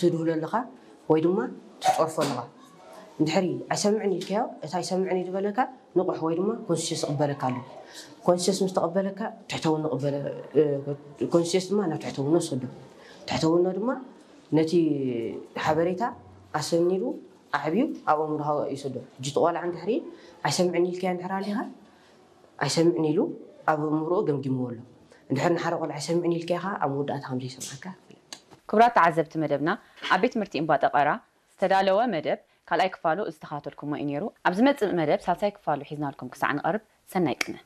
ትድህሎ ኣለኻ ወይ ድማ ትፀርፎ ኣለኻ። እንድሕሪ ኣይሰምዕን ኢልካዮ፣ እቲ ኣይሰምዕን እዩ ዝበለካ ንቑሕ ወይ ድማ ኮንሽስ ይቕበለካ ኣሎ። ኮንሽስ ምስ ተቐበለካ ትሕተውኖ ቅበለ፣ ኮንሽስ ድማ ናብ ትሕተውኖ ይሰዶ። ትሕተውኖ ድማ ነቲ ሓበሬታ ኣሰኒዱ ኣዕብዩ ኣብ ኣእምሮኻ ይሰዶ። ሕጂ እቲ ቆልዓ እንድሕሪ ኣይሰምዕን ኢልካዮ እንድሕር ኣሊኻ፣ ኣይሰምዕን ኢሉ ኣብ ኣእምሮኡ ገምጊምዎ ኣሎ። እንድሕር ንሓደ ቆልዓ ኣይሰምዕን ኢልካዮ ኸዓ ኣብ መወዳእታ ከም ዘይሰምዓካ ፍለጥ። ክቡራት ተዓዘብቲ መደብና፣ ኣብ ቤት ትምህርቲ እምባ ጠቐራ ዝተዳለወ መደብ ካልኣይ ክፋሉ ዝተኻተልኩሞ እዩ ነይሩ። ኣብ ዝመጽእ መደብ ሳልሳይ ክፋሉ ሒዝናልኩም ክሳዕ ንቐርብ ሰናይ ቅነ።